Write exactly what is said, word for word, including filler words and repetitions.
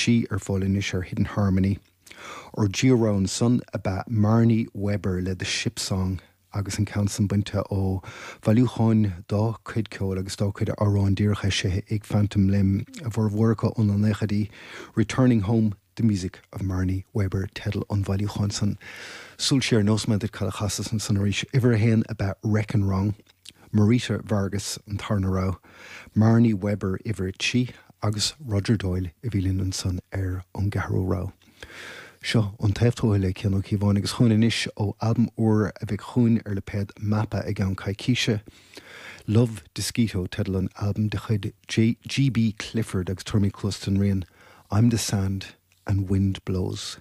trí ar fáil anois ar Hidden Harmony. Ár dtríú rogha ansan ab ea Marnie Weber le The Ship Song agus an ceann san bainte ó bhailiúchán dá cuid ceoil agus dá cuid amhrán díreach eisithe ag Phantom Limb a bhformhór acu ó na naochaidí Returning Home The Music of Marnie Weber teideal an bhailiúcháin san. Súil siar nósment cad a chasas ansan arís uimhir a haon ab ea Wreckin' Wrong, Marita Vargas an tarna rogha, Marnie Weber uimhir a trí agus Roger Doyle a bhí linn ansan ar an gceathrú rogha. Seo an taobh tuaithe le Cian Ó Cíobháin agus chugainn anois ó albam úr a bheidh chugainn ar lipéad Mapa i gceann coicíse. Love Disquito teideal an albaim de chuid G.B. Clifford agus tabharfaimid cluas don rian I'm the Sand and Wind Blows.